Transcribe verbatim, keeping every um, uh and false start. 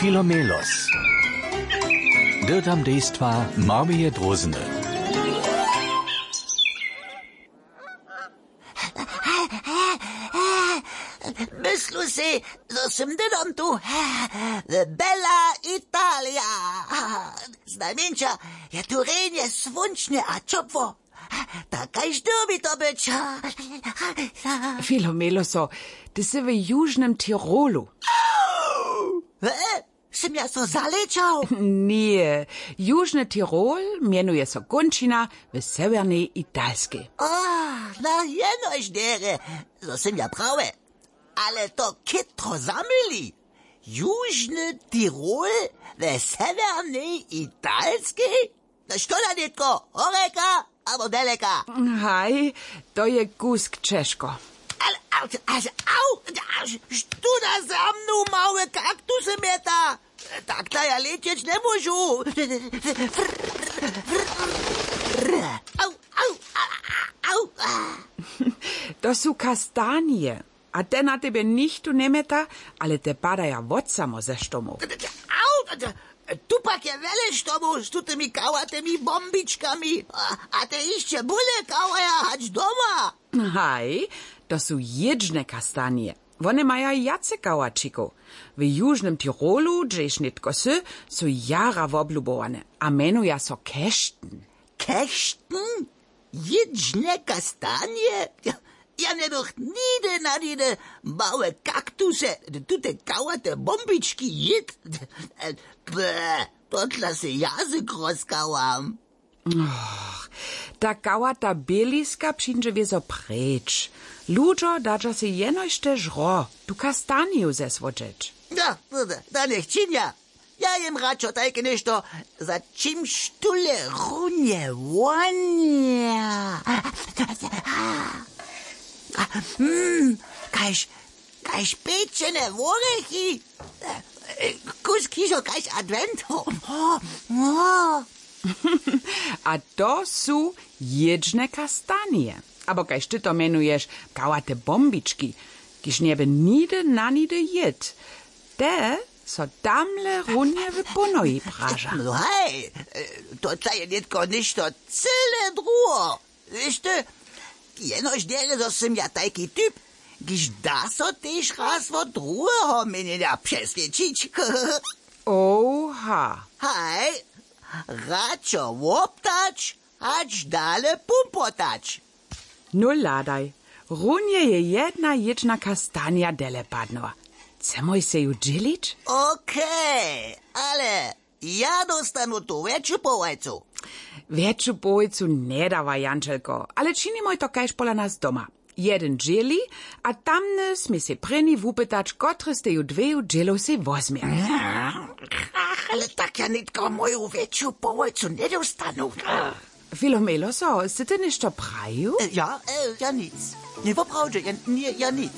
Filomelos. Dyrtam dejstwa Marmije Drózny. Myslu sej, zo sym dydom tu. Bella Italia. Znajmjeńša je tu rjenje słónčne a ćopło. Tak kaž dyrbi to być. Filomeloso, ty sy w južnym Tirolu. Sym ja so zalečał? Ně, južny Tirol mjenuje so kónčina w sewjernej Italskej. A, na jenož derje, zo sym ja prawy. Ale to chytro zamyli. Južny Tirol w sewjernej Italskej? No što da nětko, horjeka abo deleka? Haj, to je kusk ćežko. Ale, ale, ale, au, što da za mnu małe kaktusy mjeta? Tak da ja lećeć njemóžu. Au, au, au, au. To su kastanije. A te na tebje nichtó njemjeta, ale te padaja wot samo ze štomow. Au, tu pak je wjele štomow z tutymi kałatymi bombičkami. A, a te hišće bóle kawaja hač doma. Haj, to su jědźne kastanije. Wone maja wjace kałaćikow. W južnym Tirolu, hdźež nětko sy, su jara woblubowane a mjenuja so kešten. Kešten? Jědźne kastanje? Ja, ja njebych nihdy na nihdy małe kaktusy, tute kałate bombički jěd. Ble, to dla se jazyk rozkałam. Och, ta kałata běliska přińdźe wězo preč. Ludźo dadźa se jenož te žro, tu kastaniju zesłodźeć. Da, da, da, njech činja. Ja jem radšo tajke něšto, za čimž tule runje wonja. Mm, kaž, kaž pečene worechi. Kusk hižo kaž adwent. A to su jědźne kastanije. Abo kaž ty to mjenuješ, kałate bombički, kiž njeby nihdy na nihdy jěd. Te so tamle runje w pónohi praža. No haj, to ta je nětko něšto cyle druho. Wěš ty, jenož derje, zo sym ja tajki typ, kiž da so tež raz wot druheho měnjenja přeswědčić. Oha. Haj, radšo woptać, hač dale pumpotać. Nul hladaj. Runje je jedna jědźna kastanja dele padnyła. Chcemoj sej ju dźělić? Okej, ale ja dóstanu tu wjetšu połojcu. Wjetšu połojcu njedawa, jančelko, ale činimoj to kaž pola nas doma. Jedyn dźěli, a tamny smě sej prěni wupytać, kotry z teju dweju dźělow sej wozmje. Ale tak ja nětko moju wjetšu połojcu njedostanu. Filomeloso, sy ty něšto prajił? Ja, ja nic. Ně, woprawdźe, ja nic.